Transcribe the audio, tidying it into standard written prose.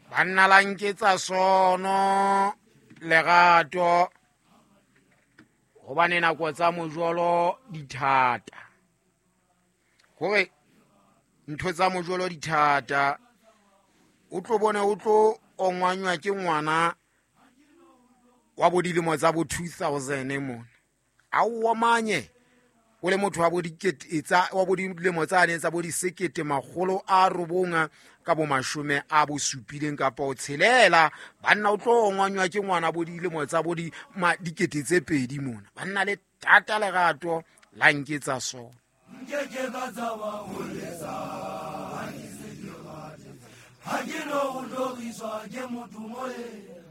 Banna la nketsa sono lerato, gobane nako tsa mojolo di thata, gore ntho tsa mojolo di thata. O tlo bone o tlo ongwanywa ke ngwana wa bo dilemo tsa bo 2000 mona, a o omanye o le motho wa bo dikete tsa wa bo dilemo tsane tsa bo disekete makgolo a robong ka bo mashome a bo supileng kapa o tshelela. Banna, o tlo ongwanywa ke ngwana bo dilemo tsa bo dikete tse pedi mona. Banna, le tata lerato la nketsa sona. Nkeke ka tshaba ho letsa ha ke se ke rate, ha ke no go hloriswa ke motho moe.